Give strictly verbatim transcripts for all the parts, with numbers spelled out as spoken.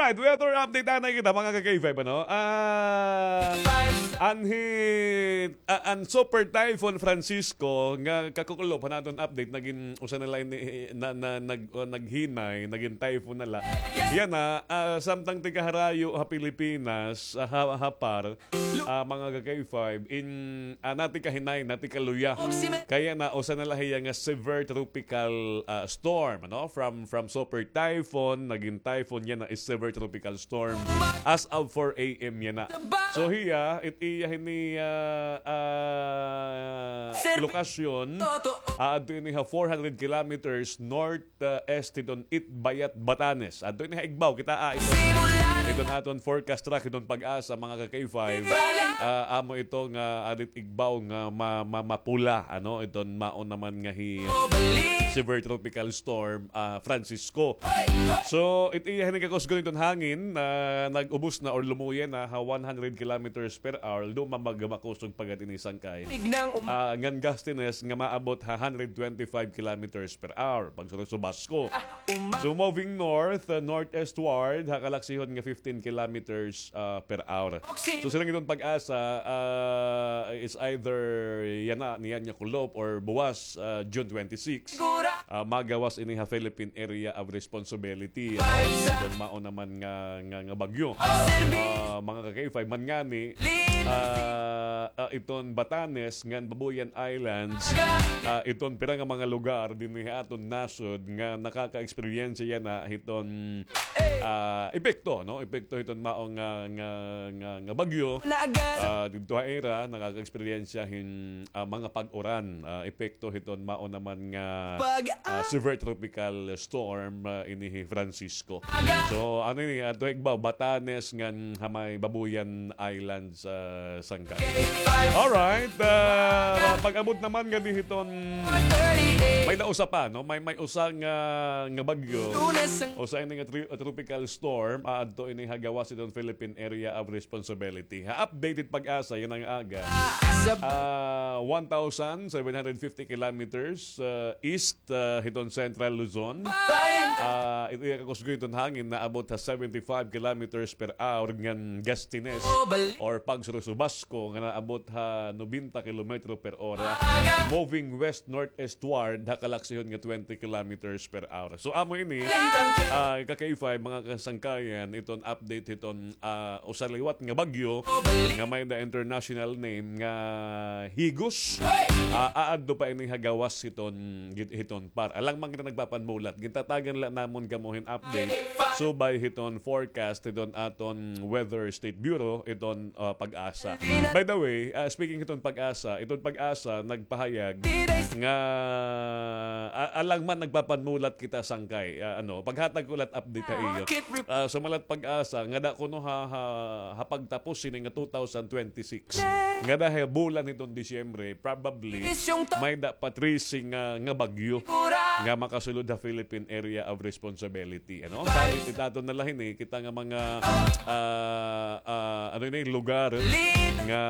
Alright, weather update anay kita, mga ka-K five, ano? Ah, anhi, ah, an Super Typhoon Francisco, nga kakukulop han aton update, nagin usa na la ini, na, na, nag-, ah, naghinay, nagin typhoon na la. Yana, ah, samtang tikaharayo ha Pilipinas, ah, ha, ha PAR, ah, mga ka-K five, in, ah, natika hinay, natika luya. Kay yana, usa na la hiya nga severe tropical, ah, storm, ano? From, from super typhoon, nagin typhoon, yana is severe tropical storm. As of four a m yana. So hiya, it iya hini, ah, ah, lokasyon, ah, adto ini ha four hundred kilometers north ah, est hiton Itbayat, Batanes. Adto ini ha igbaw, kitaa iton, iton aton forecast track hiton PAGASA, mga ka-K five. Ah, amo ito nga adit igbaw nga ma-, ma-, mapula, ano, iton mao naman nga hi severe tropical storm, ah, Francisco. So, it iya hini kakusgon iton hangin, ah, nag-ubos na or lumuya na ha one hundred kilometers per hour, although mamagmakusog pa gad ini sangkay. Ah, ngan gustiness nga maabot ha hundred twenty-five kilometers per hour. Pagsursubasko. So, moving north, uh, northeastward, ha kalaksihon nga fifteen kilometers, uh, per hour. So, siring iton PAGASA, uh, is either yana, niyan nga kulop or buwas, uh, June twenty-six, uh, magawas ini ha Philippine Area of Responsibility. Ano? Iton mao naman nga, nga, nga bagyo. Uh, mga ka-K five man ngani, ah, ah, iton Batanes ngan Babuyan Islands, ah, iton pira nga mga lugar dinhi ha aton nasod nga nakaka-eksperyensya yana hiton, ah, epekto, no? Epekto hiton mao nga, nga, nga, nga bagyo. Ah, didto ha ira, nakaka-eksperyensya hin, ah, mga pag-uran, ah, epekto hiton mao naman nga, ah, severe tropical storm, ah, ini hi Francisco. So, ano ini, adto ha igbaw, Batanes ngan ha may Babuyan Islands, ah, sangkay. Alright, ah, pag-abot naman ngadi hiton, may-ada usa pa, no? May, may usa nga, nga bagyo. Usa ini nga tri-, tropical storm, aadto ini ha gawas hiton Philippine Area of Responsibility. Ha updated PAGASA yana nga aga, ah, one thousand seven hundred fifty kilometers, ah, east ah, hiton Central Luzon. Ah, it iya kakusgon hiton hangin naabot ha seventy-five kilometers per hour ngan gustiness or pagsurusubasko nga naabot ha nobenta kilometro per ora. Moving west-northeastward ha kalaksihon nga twenty kilometers per hour. So, amo ini, ah, ka-K five, mga kasangkayan, iton update hiton ah, usa liwat nga bagyo nga may-ada international name nga Higos. Ah, aadto pa ini ha gawas hiton, git-, hiton PAR. Alang man kita nagpapanmulat, gintatagan la namon kamo hin update subay hiton forecast hiton aton Weather State Bureau, iton, ah, PAGASA. By the way, ah, speaking hiton PAGASA, iton PAGASA nagpahayag nga, ah, alang man nagpapanmulat kita sangkay, ah, ano, paghatag ko la update ha iyo. Ah, sumalat PAGASA, ngada kuno ha, ha, ha pagtapos sini nga two thousand twenty-six. Ngada ha bulan hiton Disyembre, probably, may-ada pa trese nga, nga bagyo nga makasulod ha Philippine Area of Responsibility, ano? Salit it aton na la hini, kita nga mga, ah, ah, ano ini, lugar nga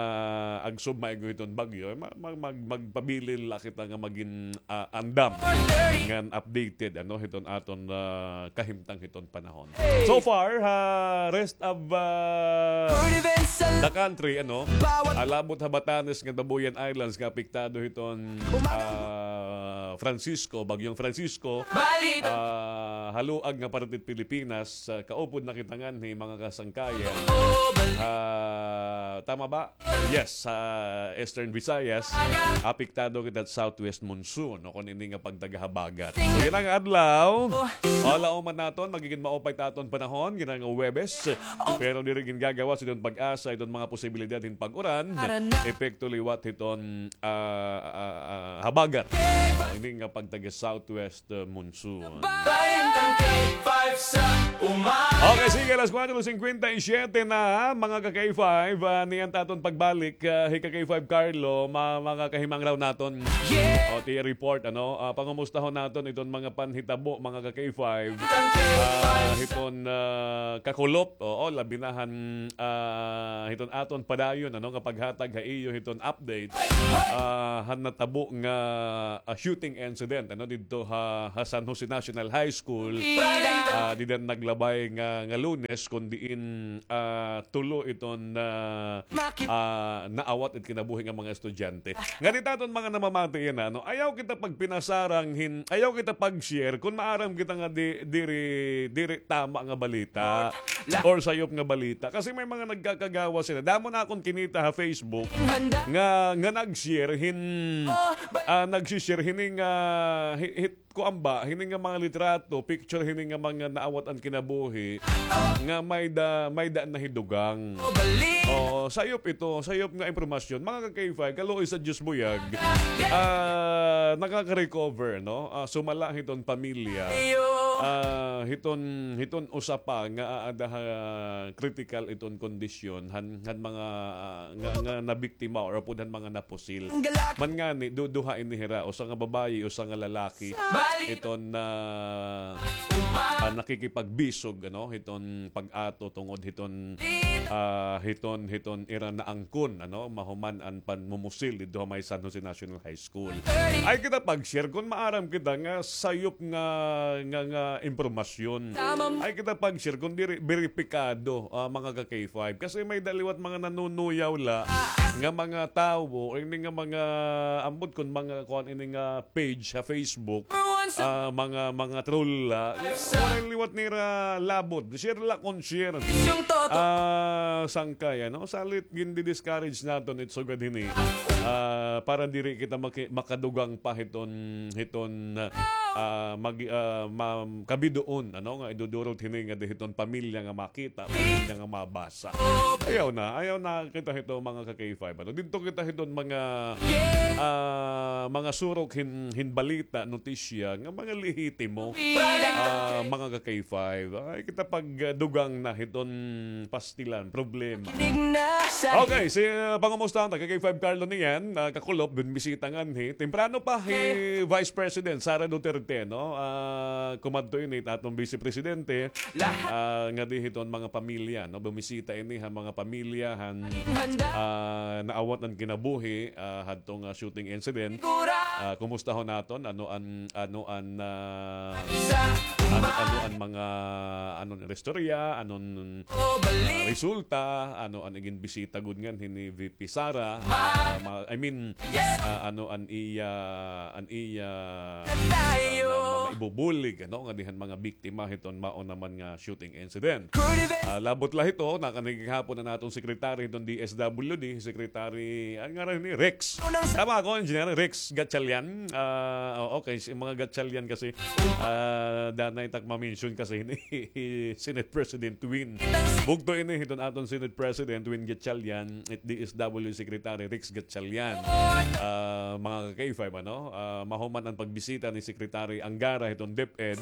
agsub maigo hiton bagyo, ma-, mag-, mag-, magpabilin la kita nga magin ah, andam ngan updated, ano, hiton aton, ah, kahimtang hiton panahon. So far, ha rest of, ah, the country, ano, ah, labot ha Batanes ngan Babuyan Islands nga apektado hiton, ah, Francisco, Bagyong Francisco, ah, haluag nga parte hit Pilipinas, ah, kaupod na kita nganhi, mga kasangkayan. Ah, tama ba? Yes, sa Eastern Visayas, apektado kita hit southwest monsoon, o kon ini nga pagtagahabagat. So, yana nga adlaw, o, laoman naton, magigin maupay it aton panahon, yana nga Huwebes. Pero diri gingagawas hiton PAGASA iton mga posibilidad hin pag-uran, epekto liwat hiton, ah, ah, ah, habagat. O, ini nga pagtaga-southwest monsoon. Okay, sige, alas kuwatro singkwenta y siyete na, mga ka-K five, ah, niyan it aton pagbalik, ah, hi ka-K five Carlo, ma-, mga kahimangraw naton. O, it iya report, ano, ah, pangumustahon naton iton mga panhitabo, mga ka-K five, ah, hiton, ah, kakulop, oo, labi na han, ah, hiton aton padayon, ano, nga paghatag ha iyo hiton update, ah, han natabo nga, ah, shooting incident, ano, didto ha, ha San Jose National High School, ah, ah, dida han naglabay nga, nga Lunes, kon diin, ah, tulo iton, ah, ah, naawat it kinabuhi nga mga estudyante. Ngadi ha aton mga namamati yana, no? Ayaw kita pagpinasarang hin, ayaw kita pag-share kon maaram kita nga di, diri, diri tama nga balita or sayop nga balita. Kasi may mga nagkakagawas hini. Damo na akon kinita ha Facebook nga, nga nag-share hin, ah, nagsi-share hini nga, hi-, hit, kuan ba, hini nga mga litrato, picture hini nga mga naawat an kinabuhi, nga may da, may da na hi dugang. Oo, sayop ito, sayop nga impormasyon. Mga ka-K five, kaluoy sa Diyos buyag, ah, nakaka-recover, no? Ah, sumala hiton pamilya. Ah, hiton, hiton usa pa nga aada ha critical iton kondisyon, han, han mga, ah, nga, nga nabiktima or upod han mga napusil. Man ngani, du-, duha ini hira, usa nga babayi, usa nga lalaki. Iton, ah, ah, nakikipagbisog, ano, hiton pag-ato tungod hiton, ah, hiton, hiton ira naangkon, ano, mahuman an panmumusil didto ha may San Jose National High School. Ay kita pag-share kon maaram kita nga sayop nga, nga, nga impormasyon. Ay kita pag-share kon diri beripikado, ah, mga ka-K five. Kasi may da liwat mga nanunuyaw la nga mga tawo, o ini nga mga, ambot kon mga kuan ini nga page sa Facebook, ah, mga, mga troll la. Waray liwat nira labot. Share la kon share. Ah, sangkay, ano? Salit gindi-discourage naton it sugad hini. Ah, para diri kita maki-, makadugang pa hiton, hiton, ah, mag-, ah, ma-, kabidoon, ano, nga idudurot hini nga di hiton pamilya nga makita, pamilya nga mabasa. Ayaw na, ayaw na kita hito, mga ka-K five. Ano, didto kita hiton mga, ah, mga surok hin, hin balita, notisya, nga mga lehitimo, ah, mga ka-K five. Ay, kita pagdugang na hiton pastilan, problema. Okay, si, ah, pangumustahan ta, ka-K five Carlo niyan, ah, kakulop, binbisita nganhi. Temprano pa, hi Vice President Sara Duterte, no? Ah, kumadto ini, aton Vice Presidente, ah, ngadi hiton mga pamilya, no? Bumisita ini ha mga pamilya han, ah, naawat an kinabuhi, ah, hadto nga shooting incident. Ah, kumustahon naton, ano an, ano an, ah, ano, ano an mga, ano an istorya, ano an, ah, resulta, ano an iginbisita gud nganhi ni V P Sara, ah, ma-, I mean, ah, ano an iya, an iya, ah, ma-, maibubulig, ano, ngadi han mga biktima hiton mao naman nga shooting incident. Ah, labot la hito, nakanhi gihapon an aton secretary hiton D S W D, Secretary, ano ngaran ni, Rex. Tama ako, Engineer Rex Gatchalian. Ah, oo, kay si mga Gatchalian kasi, ah, danay tak ma-mention kasi ni Senate President Win. Bugto ini hiton aton Senate President Win Gatchalian, it D S W Secretary Rex Gatchalian. Ah, mga ka-K five, ano? Ah, mahuman an pagbisita ni Secretary Angara hiton DepEd,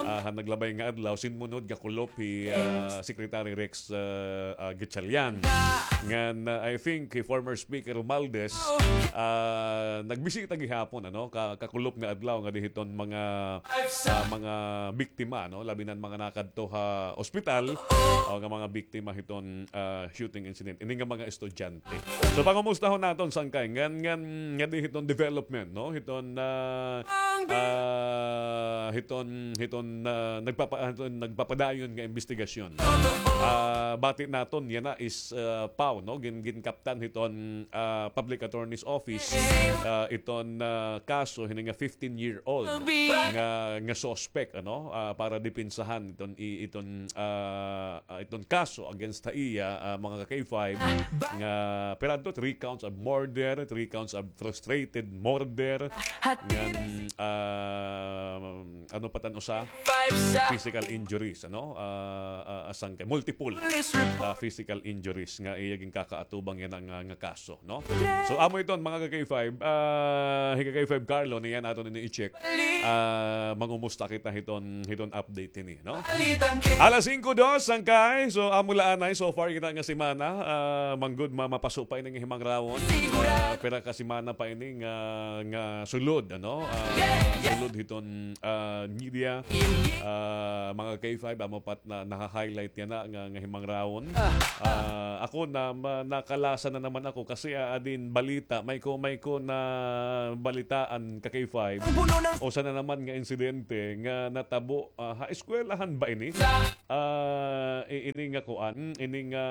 ah, han naglabay nga adlaw, sinmunod gakulop hi, ah, Secretary Rex, ah, ah, Gatchalian. Ngan, ah, I think hi former Speaker Romualdez, ah, nagbisita gihapon, ano, ka-, kakulop nga adlaw ngadi hiton mga, ah, mga biktima, no, labi na an mga nakadto ha ospital, o nga mga biktima hiton, ah, shooting incident. Ini nga mga estudyante. So, pangumustahon naton sangkay ngan, ngan, ngadi hiton development, no? Hiton, ah, ah, hiton, hiton, ah, nagpapa-, hiton nagpapadayon nga imbestigasyon. Ah, bati naton yana is, ah, PAO, no? Gin-, ginkaptan hiton, ah, Public Attorney's Office, ah, iton, ah, kaso hini nga fifteen-year-old nga, nga suspect, ano? Ah, para depensahan iton, i-, iton, ah, ah, iton kaso against ha iya, ah, mga ka-K five, nga pira adto, three counts of murder, three counts of frustrated murder, ngan, ah, ano pa tan usa? Physical injuries, ano? Ah, ah, ah, sangkay, multiple, ah, physical injuries nga iya ginkakaatubang yana nga, nga kaso, no? So, amo iton, mga ka-K five, ah, hi ka-K five Carlo, niyan aton ini i-check. Ah, mangumusta kita hiton, hiton update hini, no? Alas singko dos, sangkay. So, amo la anay, so far kita nga semana, ah, manggod ma-, mapaso pa ini nga himangrawon. Ah, pira ka semana pa ini nga, nga sulod, ano? Ah, sulod hiton, ah, media, ah, mga K five, amo pa it na, naha-highlight yana nga, nga himangrawon. Ah, ako na, ma-, nakalasa na naman ako kasi, ah, adin balita, may ko, may ko nabalitaan ka K five. Usa na naman nga insidente nga natabo, ah, ha eskwelahan ba ini? Ah, i-, ini nga kuan, ini nga,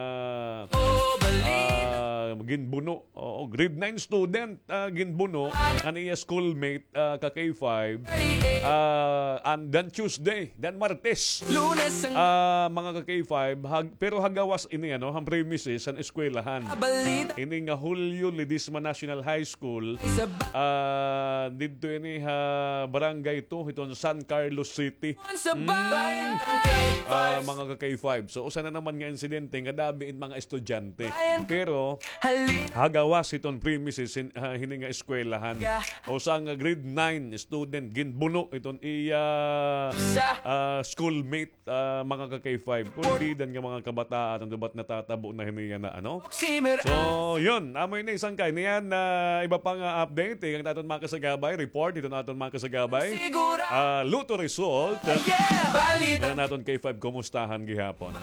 ah, ginbuno. Oo, grade nine student, ah, ginbuno an iya schoolmate, ah, ka K five, ah, an dan Tuesday, dan Martes. Ah, mga ka K five, hag-, pero ha gawas ini, ano, han premises, han eskwelahan. Ini nga Julio Ledesma National High School, ah, didto ini ha Barangay two, hiton San Carlos City. Mm. Ah, mga ka K five. So, usa na naman nga insidente nga dabi in mga estudyante. Pero, ha gawas hiton premises hin-, ha, hini nga eskwelahan. Usa nga grade nine student ginbuno hiton iya, ah, schoolmate, ah, mga ka K five. Kulbidan nga mga kabataan, ano ba it natatabo na hini yana, ano? So, yun. Amo ini sangkay niyan na iba pa nga update, eh, an aton mga kasagabay, report hiton aton mga kasagabay. Ah, lotto result. Nga naton K five, kumustahan gihapon.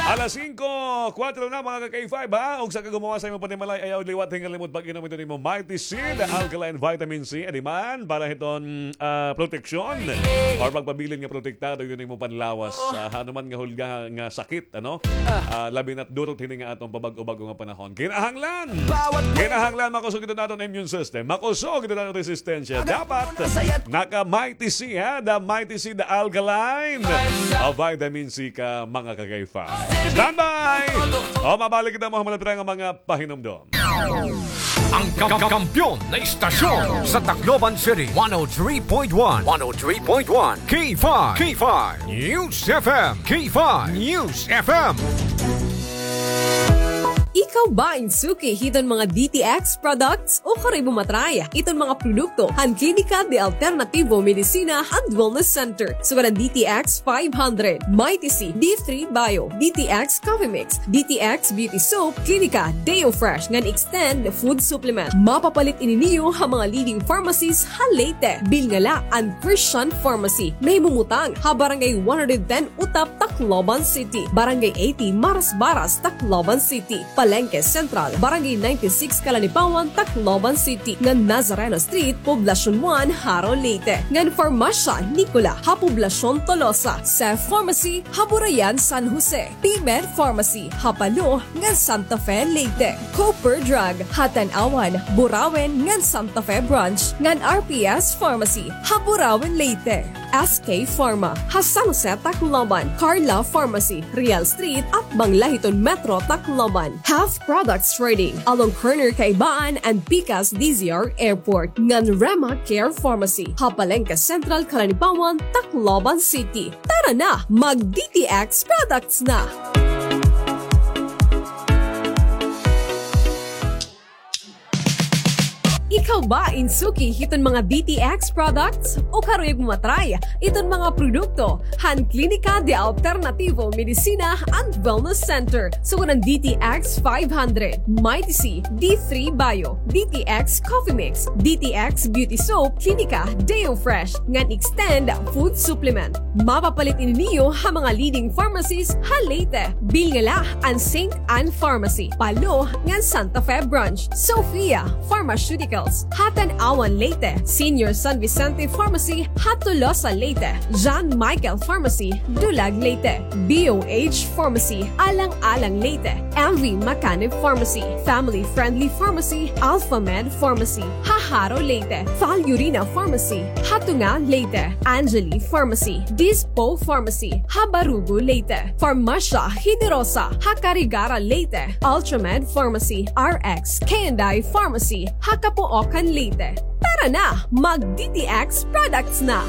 Alas singko, kuwatro na, mga ka K five, ha? Ugsa ka gumawas ha imo panimalay, ayaw liwat, hingalimot pag-inom hiton imo Mighty C, the alkaline vitamin C. Adi man, para hiton, ah, proteksyon or pagpabilin nga protektado hiton imo panlawas. Ah, ano man nga hulga nga sakit, ano? Ah, labi na't durot hini nga aton pabag-o-bag-o nga panahon. Kinahanglan! Kinahanglan makusog ito naton immune system. Makusog ito naton resistensya. Dapat naka-Mighty C, ha? The Mighty C, the alkaline, ah, vitamin C ka, mga ka K five. Standby! O, mabalik kita mo, mga pahinumdom. Ang ka-, ka-, kampiyon na istasyon sa Tacloban City, one oh three point one. One oh three point one. K five. K five. News F M. K five. News F M. Ikaw ba in suki hiton mga D T X products? O karoy mo matry iton mga produkto han Klinika de Alternativo Medicina and Wellness Center, sugad an D T X five hundred, Mighty C, D three Bio, D T X Coffee Mix, D T X Beauty Soap, Klinika Deo Fresh ngan Extend Food Supplement. Mapapalit ini niyo ha mga leading pharmacies ha Leyte. Bilnga la an Christian Pharmacy. Nahimumutang ha Barangay one hundred ten Utap, Tacloban City, Barangay eighty Marasbaras, Tacloban City, Palengke Central, Barangay ninety-six Kalanipawan, Tacloban City, ngan Nazareno Street, Poblacion one, Jaro, Leyte, ngan Farmasya Nicola ha Poblacion Tolosa, Cef Pharmacy ha Burayan, San Jose, P-Med Pharmacy ha Palo ngan Santa Fe, Leyte, Cooper Drug ha Tanauan, Burauen ngan Santa Fe Branch, ngan R P S Pharmacy ha Burauen, Leyte. S K Pharma ha San Jose, Tacloban, Carla Pharmacy, Real Street, atbang la hiton Metro Tacloban, Half Products Trading along corner Kaibaan and Pikas D Z R Airport, ngan Rema Care Pharmacy ha Palengke Central, Kalanipawan, Tacloban City. Tara na, mag-D T X products na! Ikaw ba in suki hiton mga D T X products? O karoy mo matry iton mga produkto han Klinika de Alternativo Medicina and Wellness Center, sugad an D T X five hundred, Mighty C, D three Bio, D T X Coffee Mix, D T X Beauty Soap, Klinika Deo Fresh, ngan Extend Food Supplement. Mapapalit ini niyo ha mga leading pharmacies ha Leyte. Bilnga la an Saint Anne Pharmacy, Palo ngan Santa Fe Branch, Sophia Pharmaceuticals ha Tanauan, Leyte, Senior San Vicente Pharmacy ha Tolosa, Leyte, John Michael Pharmacy, Dulag, Leyte, B O H Pharmacy, Alang-alang, Leyte, M V Macanib Pharmacy, Family Friendly Pharmacy, Alpha Med Pharmacy ha Jaro, Leyte, Falurina Pharmacy ha Tunga, Leyte, Angeli Pharmacy, Dispo Pharmacy ha Barugo, Leyte, Farmasya Generosa ha Carigara, Leyte, Ultramed Pharmacy, R X K and I Pharmacy ha Capoocan, Leyte. Tara na, mag-D T X products na!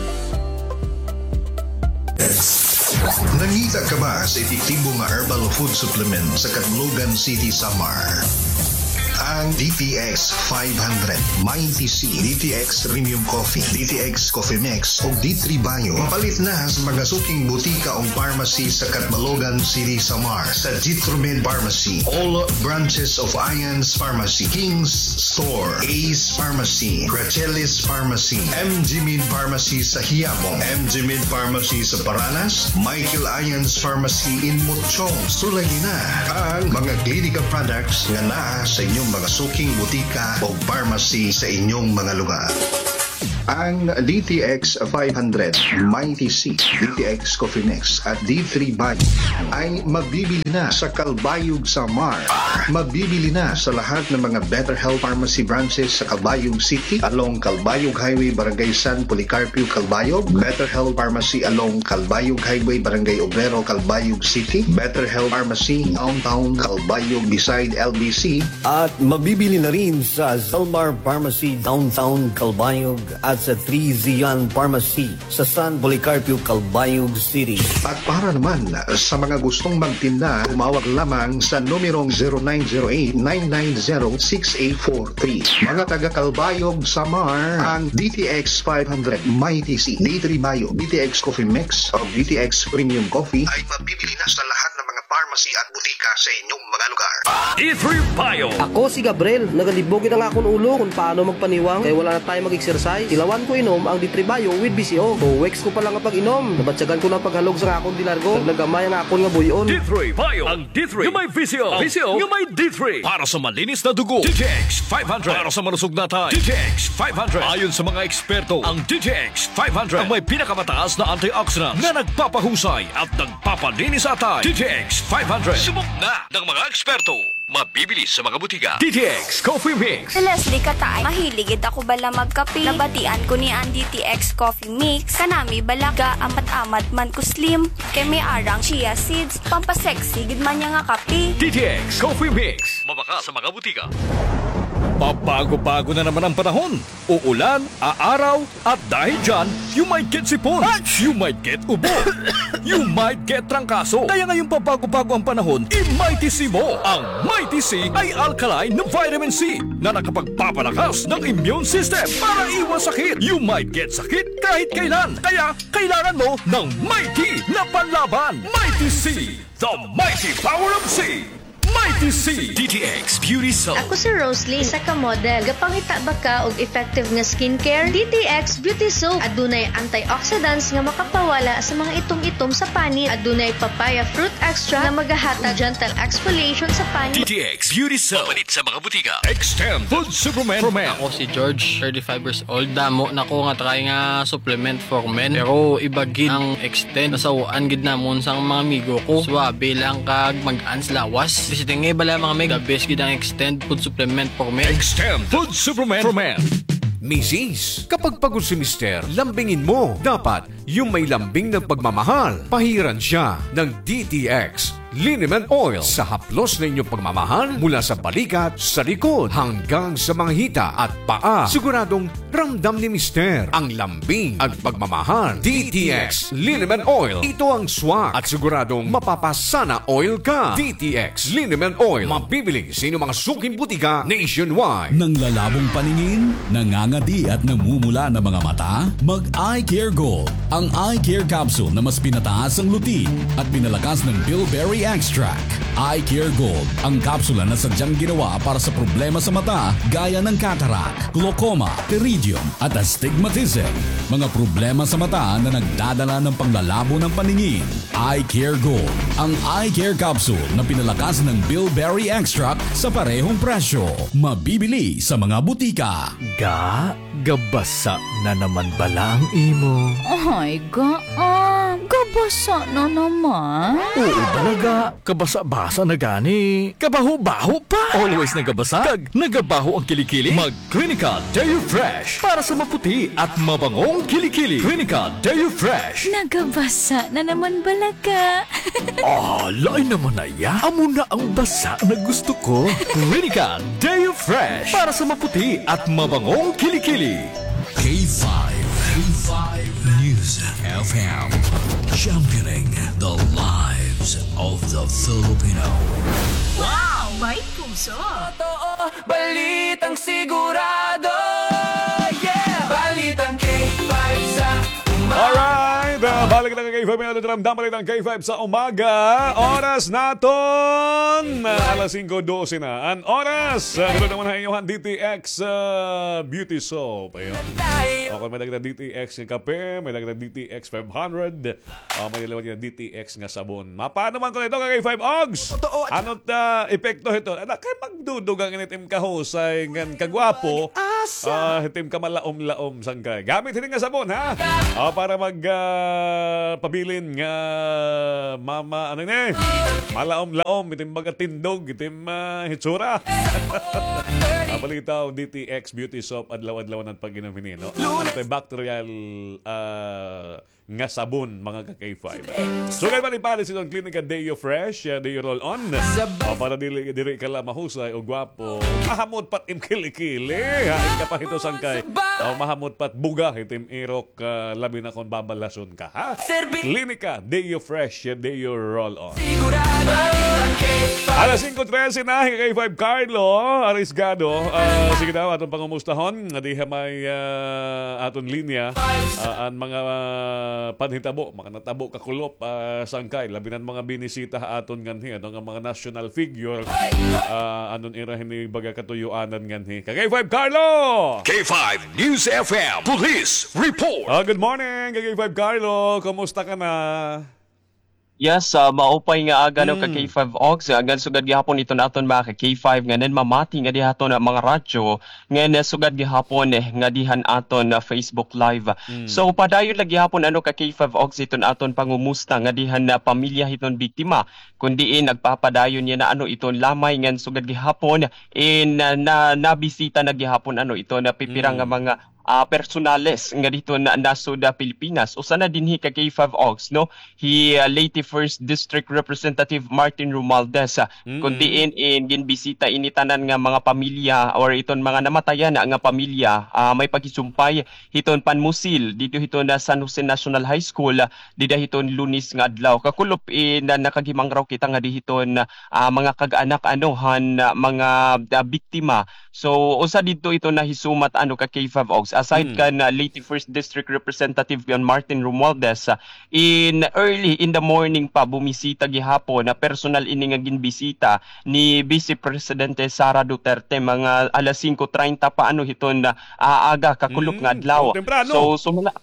Nangita ka ba sa epektibo nga herbal food supplement sa Catlogan City, Samar? Ang D T X five hundred, Mighty C, D T X Premium Coffee, D T X Coffee Mix, ug D three Bio. Mapalit na sa mga suking butika o pharmacy sa Catbalogan City, Samar, sa Jitromed Pharmacy, all branches of Ian's Pharmacy, King's Store, Ace Pharmacy, Gracelli's Pharmacy, M G Med Pharmacy sa Quiapo, M G Med Pharmacy sa Paranas, Michael Ian's Pharmacy in Mochong. Sulayi na ang mga Klinika products nga naa sa inyong mga suking butika o pharmacy sa inyong mga lugar. Ang D T X five hundred, Mighty C, D T X Coffee Mix, at D three Bio ay mabibili na sa Calbayog, Samar. Mabibili na sa lahat ng mga Better Health Pharmacy branches sa Calbayog City, along Calbayog Highway, Barangay San Policarpio, Calbayog, Better Health Pharmacy along Calbayog Highway, Barangay Obrero, Calbayog City, Better Health Pharmacy Downtown Calbayog beside L B C, at mabibili na rin sa Zalmar Pharmacy Downtown Calbayog at sa Three Zion Pharmacy sa San Policarpio, Calbayog City. At para naman sa mga gustong magtinda, tumawag lamang sa numerong zero nine zero eight, nine nine zero, six eight four three. Mga taga Calbayog, Samar, ang D T X five hundred, Mighty C, D three Bio, D T X Coffee Mix, o D T X Premium Coffee ay mabibili na sa lahat ng mga pharmacy at butika sa inyong mga lugar. D three Bio. Ako si Gabriel. Nagalibog gid an akon ulo kon paano magpaniwang kay wala na tayo mag-exercise. Ilawan ko inom ang D three Bio with V C O. Two weeks ko pa la nga pag-inom, nabatyagan ko na an paghalog sa akon dilargo. Nag-, nagamay ang akon nga buy-on. D three Bio. Ang D three nga may V C O. V C O nga may D three. Para sa malinis na dugo, D T X five hundred. Para sa malusog na atay, D T X five hundred. Ayon sa mga eksperto, ang D T X five hundred ang may pinakamataas na antioxidant na nagpapahusay at nagpapalinis sa atay. D T X five hundred. Subok na ng mga eksperto. Mabibili sa mga butika. D T X Coffee Mix. Si Leslie Kataay, mahilig gid ako bala magkape. Nabatian ko niya an D T X Coffee Mix. Kanami bala, ga-amat-amat man ko slim. Kay may arang chia seeds, pampasexy gid man niya nga kape. D T X Coffee Mix. Mabaka sa mga butika. Pabago-bago na naman ang panahon. Uulan, aaraw, at dahil dyan, you might get sipon. You might get ubo. You might get trangkaso. Kaya ngayong pabago-bago ang panahon, i-Mighty C mo. Ang Mighty C ay alkaline na vitamin C na nakapagpapalakas ng immune system para iwas sakit. You might get sakit kahit kailan. Kaya kailangan mo ng Mighty na panlaban. Mighty C, the mighty power of C. Mighty C. D T X Beauty Soap. Ako si Roslyn, isa ka model. Gapangita ba ka og effective nga skincare? D T X Beauty Soap. Adunay antioxidants nga makapawala sa mga itom-itom sa panit. Adunay papaya fruit extract nga magahatag gentle exfoliation sa panit. D T X Beauty Soap. Mapalit sa mga butika. Extend Food Supplement for Men. Ako si George, thirty-five years old. Damo na ko nga try nga supplement for men. Pero iba gid ang Extend. Nasaw-an gid namon sa mga amigo ko. Suwabe lang kag mag-ans lawas. Bisi tingay bala, mga mig. The best gid ang Extend food supplement for men. Extend food supplement for men. Misis, kapag pagod si Mister, lambingin mo. Dapat, yung may lambing ng pagmamahal. Pahiran siya ng D T X Liniment Oil sa haplos na inyong pagmamahal mula sa balikat, sa likod, hanggang sa mga hita at paa. Siguradong ramdam ni Mister ang lambing at pagmamahal. D T X Liniment Oil. Ito ang swak at siguradong mapapasana oil ka. D T X Liniment Oil. Mabibili sa inyong mga suking butika nationwide. Nanglalabong paningin, nangangadi at namumula na mga mata? Mag Eye Care Gold. Ang Eye Care Capsule na mas pinataas ang luti at pinalakas ng bilberry extract. Eye Care Gold, ang kapsula na sadyang ginawa para sa problema sa mata gaya ng cataract, glaucoma, pterygium, at astigmatism, mga problema sa mata na nagdadala ng panglalabo ng paningin. Eye Care Gold, ang Eye Care Capsule na pinalakas ng bilberry extract sa parehong presyo. Mabibili sa mga butika. Ga, gabasa na naman bala ang imo? Ay, ga, ah, gabasa na naman. Oo bala, ga. Kabasa-basa na gani. Kabaho-baho pa. Always nagabasa kag nagabaho ang kilikili? Mag Clinical Deo Fresh para sa maputi at mabangong kilikili. Clinical Deo Fresh. Nagabasa na naman bala, ga. Ah, lain naman na iya. Amo na ang basa na gusto ko. Clinical Deo Fresh para sa maputi at mabangong kilikili. K five. K five News F M. Championing the lives of the Filipino. Wow! May puso! Balitang sigurado, yeah! Balitang K five sa umaga. Alright, ah, balik na ka K five, may naramdaman, Balitang K five sa umaga. Oras naton, ah, alas singko dose na an oras. Ah, ito naman ang inyong D T X, ah, Beauty Soap. Ayun. Okay, may dagdag na D T X nga kape, may dagdag D T X five hundred. Ah, may liwat nga D T X nga sabon. Mapaano man ko nito, ka K five Ogs? Totoo. Ano ta epekto hito? Ala, kay magdudugang ini tim kahusay ngan kagwapo. Ah, hitim ka malaom-laom sangkay. Gamit hini nga sabon, ha? Ah, para mag, ah, pabilin nga mama, ano ni? Malaom-laom, itim baga tindog, itim, ah, hitsura. Ah, balitaw, D T X Beauty Soap, adlaw-adlaw na pag-inom hini, no? Antibacterial, ah, nga sabon, mga ka K five. So, kay man ipalit sa itong klinika Deo Fresh, ah, Deo Roll On. O, para dili, dili ka la mahusay o gwapo. Mahamot pat im kilikili. Ha, im kapahito sangkay. O, mahamot pat buga, itim irok, ah, labi na kon babalason ka, ha? Klinika Deo Fresh, Deo Roll On. Alas singko trese na, K five Carlo Arisgado. Ah, sige daw, aton pangumustahon. Nga diha may, ah, aton linya. Ah, an mga, ah, panhitabo, mga natabo kakulop, ah, sangkay. Labi na an mga binisita ha aton nganhi, ano, nga mga national figure. Ah, anon ira hini baga katuyoanan nganhi. Ka K five Carlo! K five News F M Police Report. Ah, good morning, ka K five Carlo. Kumusta ka na? Yes, ah, maupay nga aga, no, ka K five Ox, ah, ngan sugad gihapon iton aton mga ka K five nga nanmamati ngadi ha aton, ah, mga radyo, ngan, ah, sugad gihapon, eh, ngadi han aton, ah, Facebook Live. So, padayon lagi gihapon, ano, ka K five Ox, iton aton pangumusta ngadi han, ah, pamilya hiton biktima, kun diin nagpapadayon yana, ano, iton lamay ngan sugad gihapon, in, ah, na, nabisita na gihapon, ano, ito na pipira nga mga ah, personales nga didto na, nasud ha Pilipinas. Usa na dinhi ka K five Ox, no? Hi, ah, late First District Representative Martin Romualdez, ah, kun diin in ginbisita ini tanan nga mga pamilya or iton mga namatayan nga pamilya, ah, may paghisumpay hiton panmusil didto hiton, ah, San Jose National High School, ah, dida hiton Lunes nga adlaw. Kakulop in, ah, nakaghimangraw kita ngadi hiton, ah, mga kag-anak, ano, han, ah, mga, ah, biktima. So, usa didto ito nahisumat, ano, ka K five Ox. Aside kan, ah, late First District Representative kan Martin Romualdez, ah, in early in the morning pa, bumisita gihapon na personal ini nga ginbisita ni Vice Presidente Sara Duterte, mga alas singko treinta pa, ano, hiton, ah, aga, kakulop nga adlaw. So, sumala,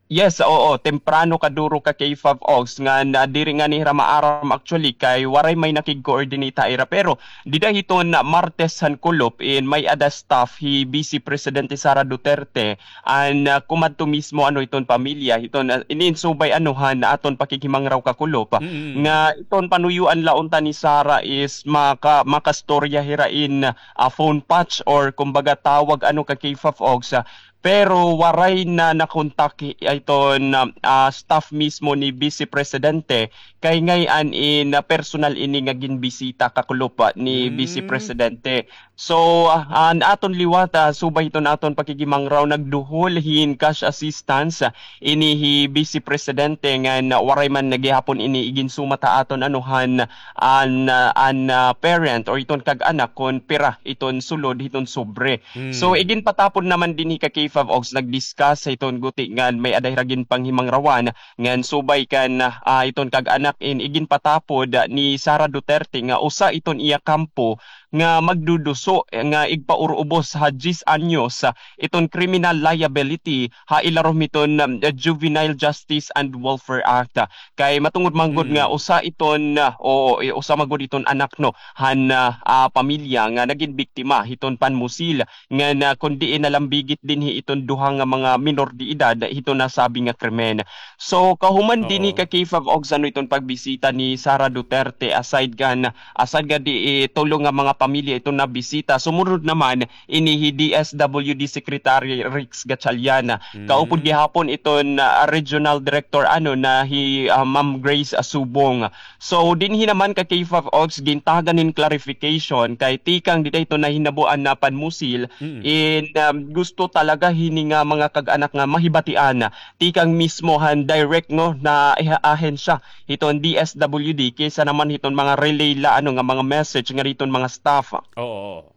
Yes, oo, temprano kaduro ka K five Ox nga na diri nga nira maaram actually kay waray may nakig-coordinate ha ira. Pero dida hiton Martes han kulop in may-ada staff hi Vice Presidente Sara Duterte an, ah, kumadto mismo ano hiton pamilya hiton, ah, iniinsubay ano han aton pakighimangraw kakulop nga iton panuyoan la unta ni Sara is maka-, makastorya hira in, ah, phone patch or kumbaga tawag ano ka K five Ox, ah, Pero waray na nakontak hi-, iton, ah, staff mismo ni Vice Presidente kay ngay-an in, ah, personal ini nga ginbisita kakulop ni Vice Presidente. So, ah, an aton liwat, ah, subay hiton aton pakigimangraw nagduhol hin cash assistance, ah, ini hi Vice Presidente ngan waray man gihapon ini iginsumat ha aton ano han an, ah, an, ah, parent or iton kag-anak kon pira iton sulod hiton sobre. So, iginpatapon naman dinhi ka K five Ox nag-discuss sa iton guti ngan may-ada hira ginpanghimangrawan ngan subay kan, ah, iton kag-anak in iginpatapod ni Sara Duterte nga usa iton iya kampo nga magduduso nga igpaurubos ha diyes anyos, ah, iton criminal liability ha ilarom hiton, um, Juvenile Justice and Welfare Act. Kay matungod man gud nga usa iton, ah, o, i-, usa man gud iton anak, no, han, ah, ah, pamilya nga nagin biktima hiton panmusil ngan, ah, kon diin nalambigit dinhi iton duha nga mga minor de edad hiton nasabi nga krimen. So, kahuman dinhi ka K five Ox ano iton pagbisita ni Sara Duterte aside kan, aside nga di, eh, tulo nga mga pamilya iton nabisita. Sumunod naman, ini hi D S W D Secretary Rex Gatchalian. Kaupod gihapon iton, ah, Regional Director, ano, na hi, ah, Ma'am Grace Asubong. So, dinhi naman ka K five Ox, gintagan hin clarification kay tikang dida ito nahinabuan na panmusil in, um, gusto talaga hini nga mga kag-anak nga mahibatian tikang mismo han direct, no, na iha-, ahensya hiton D S W D kaysa naman hiton mga relay la, ano, nga mga message nga hiton mga staff. Oo.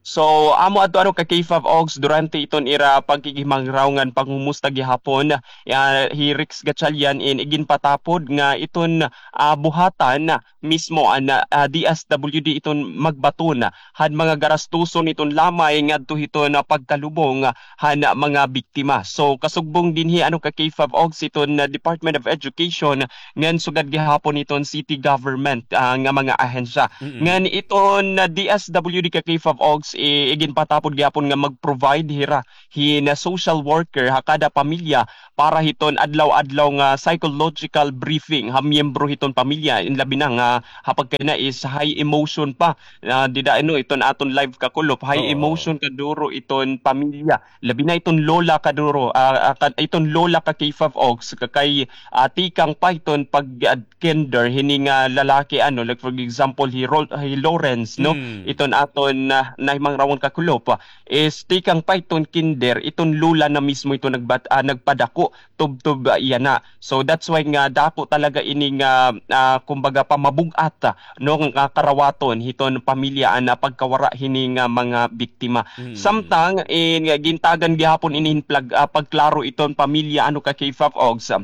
So, amo adto ano ka K five Ogs durante iton ira pagkikihimangrawnan pangumusta gihapon, ah, hi Rex Gatchalian in iginpatapod nga iton, ah, buhatan mismo an, ah, D S W D iton magbaton han mga garastuson iton lamay ngadto hiton, ah, pagkalubong han, ah, mga biktima. So, kasugbong dinhi ano ka K five Ogs iton, ah, Department of Education ngan sugad gihapon iton city government, ah, nga mga ahensya. Mm-mm. Ngan iton, ah, D S W D ka K five Ogs, i-, iginpatapod gihapon nga mag-provide hira hin, ah, social worker ha kada pamilya para hiton adlaw-adlaw nga psychological briefing ha miyembro hiton pamilya. In labi na nga ha pagkayana is high emotion pa. Ah, dida ano iton aton live kakulop, high Oo. emotion kaduro iton pamilya. Labi na iton lola kaduro, ah, ah, ka-, iton lola ka K five Ogs, ka kay, ah, tikang pa iton pag, ah, kinder hini nga lalaki, ano, like, for example, hi Ro-, hi Lawrence, no? Mm. Iton aton, ah, nahimangrawon kakulop, ah, is tikang pa iton kinder, iton lola na mismo iton nagbat-, ah, nagpadako, tubtob, ah, iya na. So, that's why nga dako talaga ini nga, ah, kumbaga, pamabug-at, ah, no, nga karawaton hiton pamilya an, ah, pagkawara hini nga mga biktima. Mm. Samtang, eh, nga gintagan gihapon ini hin plag-, ah, pagklaro iton pamilya, ano ka K five Ogs, ah,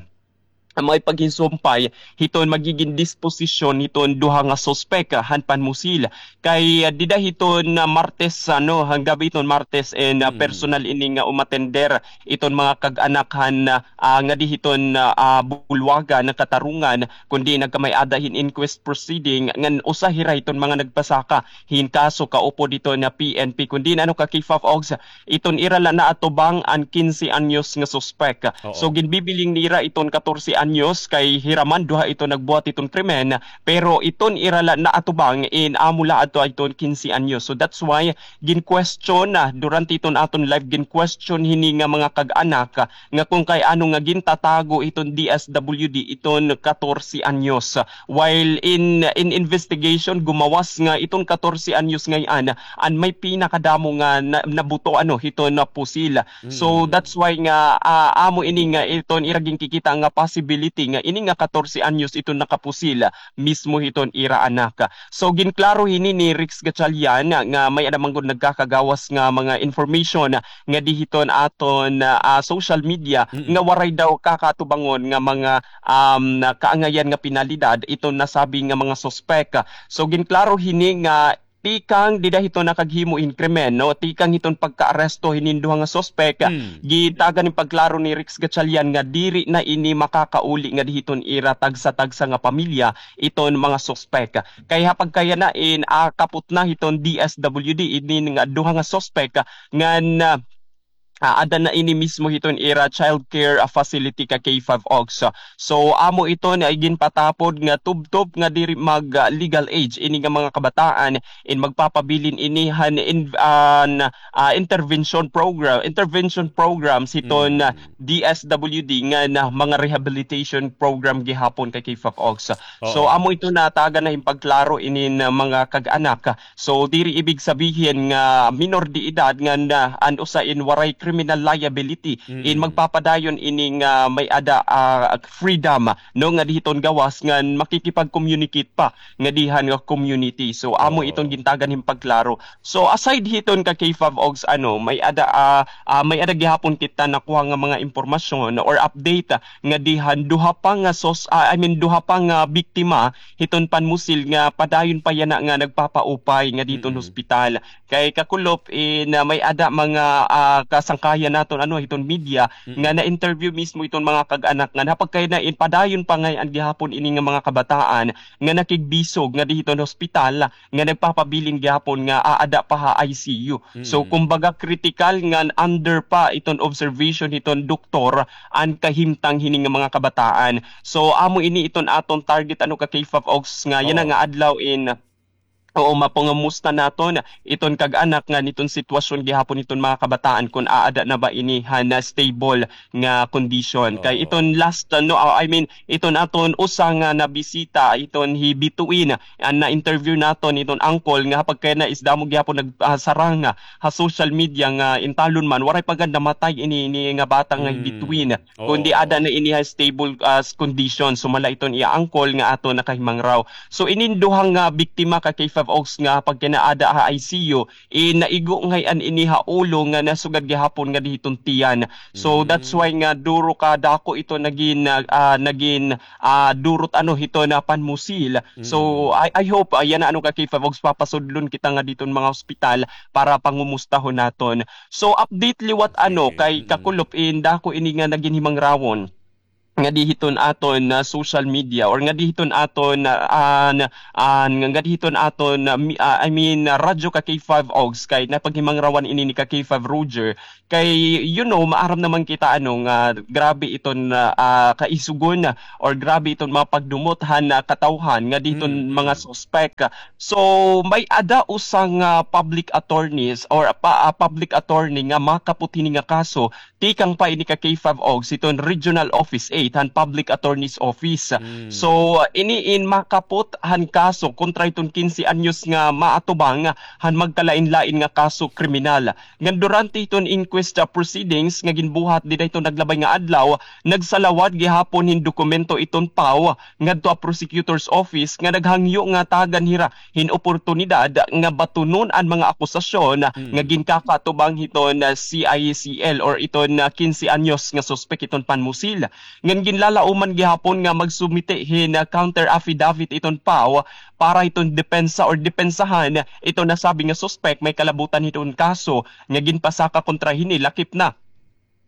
may paghinsumpay hiton magigin disposisyon hiton duha nga suspek, ah, han panmusil. Kay, ah, dida hiton, ah, Martes, ano, han gab-i hiton Martes, and, ah, Mm. personal ini nga umatender iton mga kag-anak han, ah, ah, ngadi hiton, ah, ah, Bulwagan, Katarungan, kundi nagkamay-ada hin inquest proceeding ngan usa hira hiton mga nagpasaka hin kaso kaupod hiton P N P, kundi ano ka K five Ogs, iton ira la naatubang an kinse anyos nga suspek. Oo. So, ginbibiling nira iton katorse anyos kay hira man duha iton nagbuhat iton krimen, pero iton ira la naatubang in amo la adto iton kinse anyos. So, that's why gin-question na durante iton aton live, gin-question hini nga mga kag-anak, ah, nga kung kay ano nga gintatago iton D S W D iton katorse anyos. While in, in investigation, gumawas nga iton katorse anyos ngay-an an may pinakadamo nga na-, nabuto, ano, hiton pusil. So, Mm. that's why nga, ah, amo ini nga iton ira ginkikita nga possibility nga ini nga katorse anyos iton nakapusil mismo hiton ira anak. So, ginklaro hini ni Rex Gatchalian nga may-ada man gud nagkakagawas nga mga information ngadi hiton aton, ah, social media Mm-mm. nga waray daw kakatubangon nga mga, um, kaangayan nga penalidad iton nasabi nga mga suspek. So, ginklaro hini nga tikang dida hiton nakaghimo hin krimen, no? Tikang hiton pagkaaresto hinin duha nga suspek, Mm. gitagan hin pagklaro ni Rex Gatchalian nga diri na ini makakauli ngadi hiton ira tagsa-tagsa nga pamilya iton mga suspek. Kay ha pagkayana in, ah, kapot na hiton D S W D inin nga duha nga suspek ngan, ah, ah, ada na ini mismo hiton ira child care, ah, facility ka K five Ogs. So, amo iton nga iginpatapod nga tubtob nga diri mag, ah, legal age ini nga mga kabataan in magpapabilin ini han in-, an, ah, intervention program, intervention programs hiton, Mm. ah, D S W D nga na mga rehabilitation program gihapon ka K five Ogs. So, Oo. amo ito natagan na hin pagklaro inin, ah, mga kag-anak. So, diri ibig sabihin nga minor de edad nga na, an usa in waray criminal liability in Mm. magpapadayon ini nga may-ada, ah, freedom, no, ngadi hiton gawas nga makikipag-communicate pa ngadi han nga community. So, amo Oo. iton gintagan hin pagklaro. So, aside hiton ka K five Ogs, ano, may-ada, ah, ah, may-ada gihapon kita nakuha nga mga impormasyon or update, ah, ngadi han duha pa nga sos-, ah, I mean, duha pa nga biktima hiton panmusil nga padayon pa yana nga nagpapaupay ngadi hiton Mm. hospital. Kay kakulop, eh, na may-ada mga, ah, kasangkayan naton, ano, hiton media Mm. nga na-interview mismo iton mga kag-anak nga ha pagkayana in padayon pa ngay-an gihapon ini nga mga kabataan nga nakigbisog ngadi hiton hospital nga nagpapabilin gihapon nga aada pa ha I C U. So, Mm. kumbaga, critical ngan under pa iton observation hiton doktor an kahimtang hini nga mga kabataan. So, amo ini iton aton target, ano, ka K five Ogs nga yana Oo. nga adlaw in, oo, mapangamusta naton iton kag-anak ngan iton sitwasyon gihapon iton mga kabataan kun aada na ba ini han stable nga kondisyon. Kay Oo. iton last, ano, ah, I mean, iton aton usa nga nabisita, iton hi Bituin, an na-interview naton, iton uncle, nga ha pagkayana is damo gihapon nag-, ah, sarang, ah, ha social media nga intalon man, waray pa gad namatay ini, ini nga bata nga hi Mm. Bituin. Kundi Oo. ada na ini ha stable, ah, condition. Sumala iton iya uncle nga aton nakahimangraw. So, inin duha nga biktima ka K five Oaks nga pagkinaada ha I C U, eh, naigo ngay-an ini ha ulo nga nasugad gihapon nga dihiton tiyan. So, that's why nga duro ka dako ito nagin, ah, ah, nagin, ah, durot ano hiton panmusil. So, I, I hope, ah, yana ano ka K five Oaks, papasudlon kita nga diton mga ospital para pangumustahon naton. So, update liwat ano kay Kakulop in dako ini nga nagin himangrawon nga dihiton aton na social media or nga dihiton aton na, ah, na, ah, nga dihiton aton na mi-, ah, I mean, ah, radyo ka K five Oaks kay napaghimangrawan ini ni ka K five Roger. Kay, you know, maaram naman kita ano nga grabe iton, ah, ah, kaisugon or grabe iton mga pagdumot han, ah, katawhan nga dihiton mga suspek. So, may ada usa nga public attorneys or pa, ah, public attorney nga makapot hini nga kaso tikang pa ini ka K five Oaks hiton Regional Office eight han Public Attorney's Office. So, ini in makapot han kaso kontra hiton kinse anyos nga maatubang han magkalain-lain nga kaso kriminal. Ngan durante hiton inquest, ah, proceedings nga ginbuhat dida hiton naglabay nga adlaw, nagsalawad gihapon hin dokumento iton PAO ngadto ha prosecutor's office nga naghangyo nga tagan hira hin oportunidad nga batunon an mga akusasyon nga ginkakatubang hiton, ah, C I C L or iton, ah, kinse anyos nga suspek hiton panmusil. Ngan ginlalauman gihapon nga magsumite hin, ah, counter affidavit iton PAO para hiton depensa or depensahan iton nasabi nga suspek may kalabutan hiton kaso nga ginpasaka kontra hini lakip na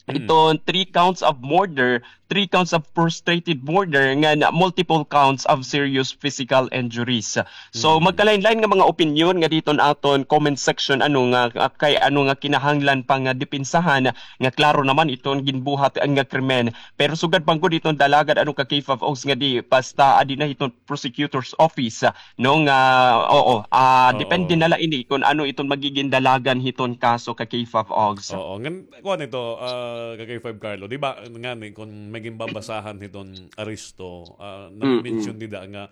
iton three counts of murder, three counts of frustrated murder, ngan multiple counts of serious physical injuries. So, magkalain-lain nga mga opinyon nga diton aton comment section, ano nga, ah, kay ano nga kinahanglan pa nga depensahan, nga klaro naman iton ginbuhat nga krimen. Pero sugad pa gud iton dalagad, ano ka K five Oaks, nga di basta adi na hiton prosecutor's office, ah, no, nga, oo, ah, depende na la ini kon ano iton magigin dalagan hiton kaso ka K five Oaks. Oo, ngan, kuan ito, ah, ka K five Carlo, di ba, ngani, kon may ginbabasahan hiton aresto, ah, na-mention dida nga,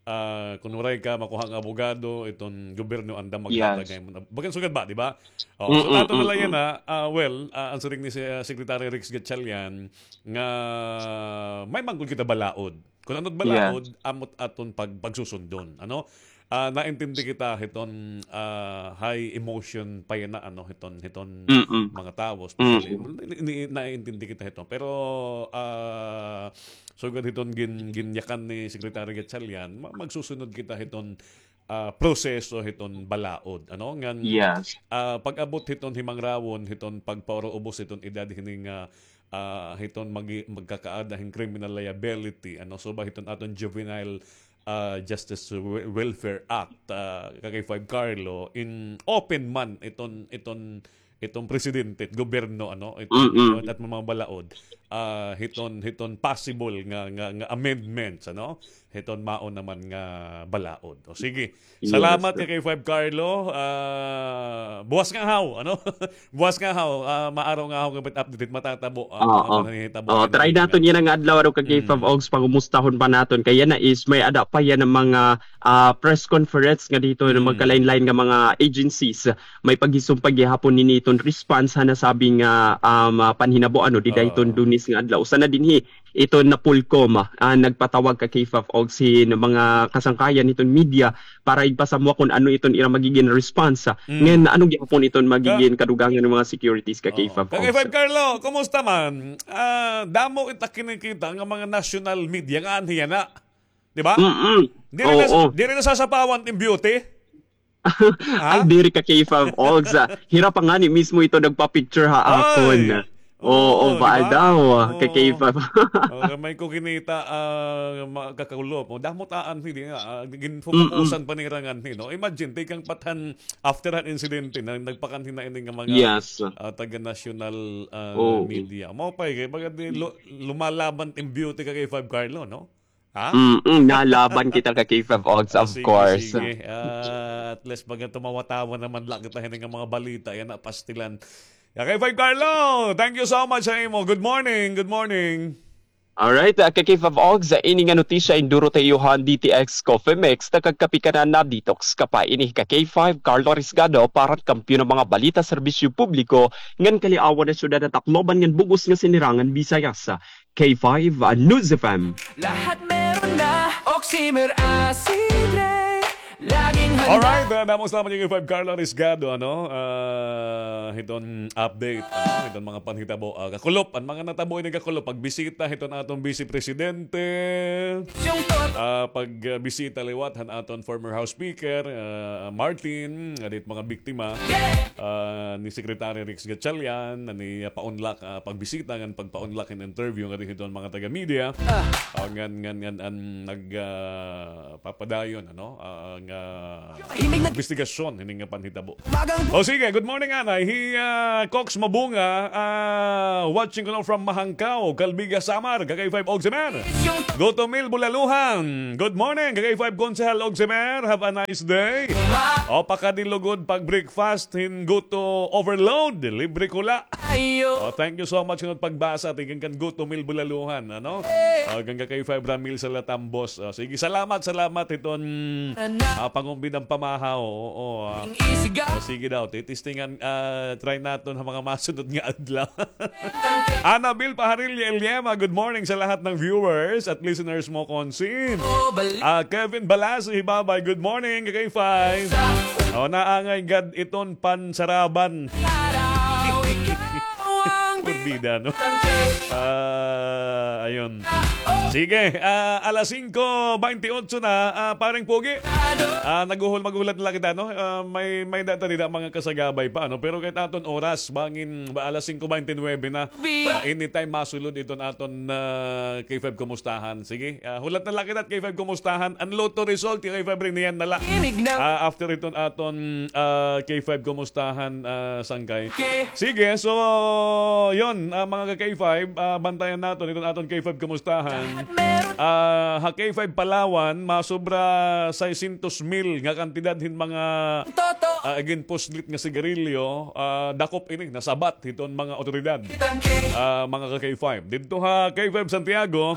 ah, kon waray ka makuha nga abogado, iton gobyerno anda maghatag. Bagan sugad ba, di ba? Oo, so, ato na la yana, ah, well, ah, an siring ni si, ah, Secretary Rex Gatchalian nga may man gud kita balaod. Kon ano it balaod, amo it aton pag-, pagsusundon, ano? Ah, naintindi kita hiton, ah, high emotion pa yana, ano, hiton, hiton mga tawo, especially. Ni-, ni-, naintindi kita hiton. Pero, ah, sugad hiton gin-, ginyakan ni Secretary Gatchalian, ma-, magsusunod kita hiton, ah, proseso hiton balaod, ano? Ngan, ah, pag-abot hiton himangrawon, hiton pagpaurubos hiton edad hini nga, ah, hiton magi-, magkakaada hin criminal liability, ano, so ba hiton aton Juvenile, ah, Justice Wel-, Welfare Act, ah, ka K five Carlo, in open man iton, iton, iton presidente, it gobyerno, ano, iton, iton at mga balaod, ah, hiton, hiton possible nga, nga, nga amendments, ano, hiton mao naman nga balaod. O sige, salamat ka K five Carlo. Ah, buwas nga haw, ano? Buwas nga haw, ah, maaraw nga haw nga update matatabo, ah, mga pananghitabo. Oo, try naton yana nga adlaw, ano, ka K five Oaks, pangumustahon pa naton. Kay yana is may ada pa yana mga, ah, press conference nga dihiton magkalain-lain nga mga agencies. May paghisumpa gihapon hini hiton response ha nasabi nga, um, ah, panhinabo, ano, dida hiton Lunes nga adlaw. Usa na dinhi iton Napolcom, ah, nagpatawag ka K five Oaks hin mga kasangkayan hiton media para igpasamwa kon ano iton ira magigin response. Ngan ano gihapon iton magigin kadugangan hin mga securities ka K five Oaks. Ka K five Carlo, kumusta man? Ah, damo it ak kinikita nga mga national media nga anhi yana. Di ba? Diri na, diri na sasapawan it im beauty. Ay, diri ka K five Oaks, ah. Hira pa ngani mismo ito nagpa-picture ha akon. Oo, baal daw, ka K five. Oo, may ko kinita, ah, mga kakulop. O, damo it aanhi, di nga, ah, ginfokusan pa nira nganhi, no? Imagine, tikang pa it han, after han insidente, na nagpakanhi na ini nga mga, ah, taga-national, ah, media. Mao pa, eh, kay baga di, lu-, lumalaban it im beauty ka K five Carlo, no? Ha? Mm, nalaban kita ka K five Oaks, of course. Sige, sige. Ah, at least, baga tumawa-tawa naman la kita hini nga mga balita yana, pastilan. Ka K five Carlo, thank you so much ha imo. Good morning, good morning. Alright, ah, ka K five Oaks, ini nga notisya induro ta iyo han D T X Coffee Mix, ta kagkape ka na, na-detox ka pa. Ini ka K five, Carlo Risgado, para han Kampiyon nga mga Balita, Serbisyo Publiko, ngan Kaliawan ha Syudad ha Tacloban ngan bug-os nga Sinirangan Visayas. K five, ah, News F M. Lahat meron na, Oximer Acidre. Laging Alright, ah, damo salamat kay K five Carlo Arisgado, ano, ah, hiton update, ano, hiton mga panhitabo, ah, kakulop, an mga natabo ini kakulop, pagbisita hiton aton Vice Presidente, ah, pagbisita liwat han aton former House Speaker, ah, Martin, nga didto mga biktima, ah, ni Secretary Rex Gatchalian, ni, ah, paunlak, ah, pagbisita ngan pagpaunlak hin interview nga didto hiton mga taga-media, ah, ngan, ngan, ngan, an nag, ah, papadayon, ano, ah, nga imbestigasyon hini nga panhitabo. O sige, good morning, anay. Hi, ah, Cox Mabunga, ah, watching ko now from Mahangkaw, Calbiga, Samar, ka K five Ogsimer. Guto Mil Bulaluhan. Good morning, ka K five Konsehal Ogsimer. Have a nice day. O, pakadilugod pag-breakfast, hin guto overload. Libre ko la. Oh, thank you so much ngan pagbasa tikang kan Guto Mil Bulaluhan, ano? Oh, hanggang kay Five Ramil sa Latambos. Oh, sige, salamat, salamat hiton, ah, pangumbidang pamahaw. Oo, ah. Oh, sige daw, titistingan, ah, try naton ha mga masunod nga adlaw. Annabel Paharilla Eliema, good morning sa lahat ng viewers at listeners mo, Consin. Ah, Kevin Balaso Hibabay, good morning, kay Five. Oh, naangay gad iton pansaraban. Kurbida, no? Ah, ayun. Sige, ah, alas singko baynte otso na, ah, pareng Pogi. Ah, naguhul-, maghulat na la kita, no? Ah, may, may data dida mga kasagabay pa, no? Pero kahit aton oras, bangin, ba, alas singko baynte nuwebe na. Ah, anytime masulod iton aton, ah, K five Kumustahan. Sige, ah, hulat na la kita, K five Kumustahan. An lotto result, K five, riniyan na la. Ah, after iton aton, ah, K five Kumustahan, ah, sangkay. Sige, so, yun, ah, mga ka K five, ah, bantayan naton iton aton K five Kumustahan. Ah, ha K five Palawan, masobra seiscientos mil nga kantidad hin mga, ah, ginpuslit nga sigarilyo, ah, dakop ini, nasabat hiton mga otoridad. Ah, mga ka K five. Didto ha K five Santiago,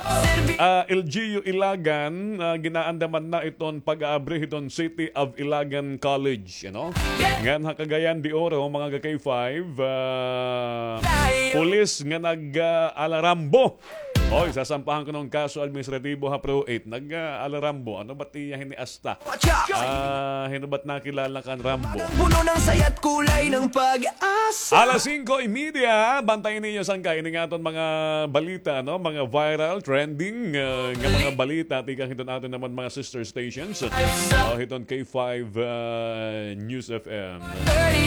ah, L G U Ilagan, ah, ginaandaman na iton pag-aabri hiton City of Ilagan College, you know? Ngan ha Cagayan de Oro, mga ka K five, ah, pulis nga nag, ah, alarambo. Oy, sasampahan kuno hin kaso administratibo ha Pro eight. Nag, ah, alarambo. Ano ba tiya hini asta? Ah, hino ba't nakilala kan Rambo? Puno ng saya't kulay ng pag-asa. Alas singko y media, bantayan ninyo sangkay ini nga aton mga balita, no? Mga viral, trending, ah, nga mga balita, tikang hiton aton naman mga sister stations. Oh, hiton K five, ah, News F M.